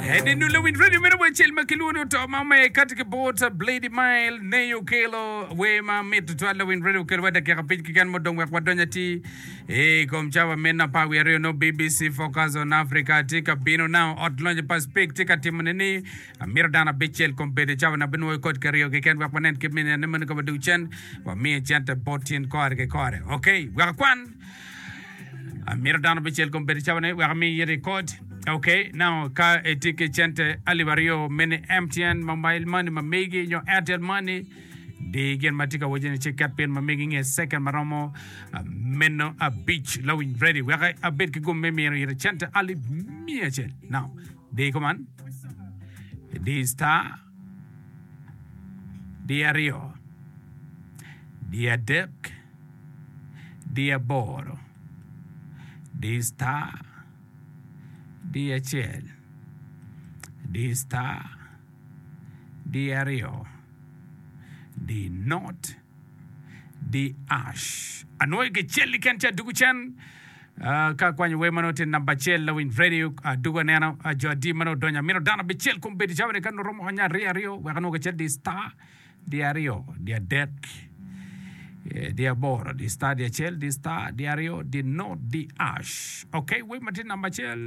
Eni nule winy radio meno wacel ma kilwongo ni oto ma omeyo kati ki bot Blady Mile neyo okelo wer ma mit tutwal lawiny radio okelo wa dakika abic keken mudong wek wadony atir i kom cawa meno 12 no BBC Focus on Africa tye ka bino now ot lonyo pa Speke tye ka timone ni amito dano abicel kombeddi cawa na binwoyo kod ki aryo keken wek wanen kit me nene meno ka wadug cen wamiye cente bot tyen kore ki kore ok wek akwan Amito dano bicel kombeddi cawa-ni wek ami it rekod. Ok, now ka itye ki cente alip aryo mini MTN mobile money ma megi nyo Airtel money di gin ma tye ka wacci ni ci ket pin ma megi nge second ma romo meno abic lawiny ready wek abed ki gum me mino ite cente alip miya acel. Now di kuman di star di aryo di adek di aboro, di star, di acel, di star, di aryo, di not, di ash. Anwoyo kicel keken ci adugo cen ka akwanyo wer ma nongo tye namba acel lawiny radio adugo aneno jo adi ma nongo odonyo amito dano abicel kombeddi cawa ni ka nongo romo onya aryo aryo wek anwong kicel di star di aryo, di adek, di aboro, di star, di acel, di star, di aryo, di not, di ash. Ok, wer ma tye namba acel.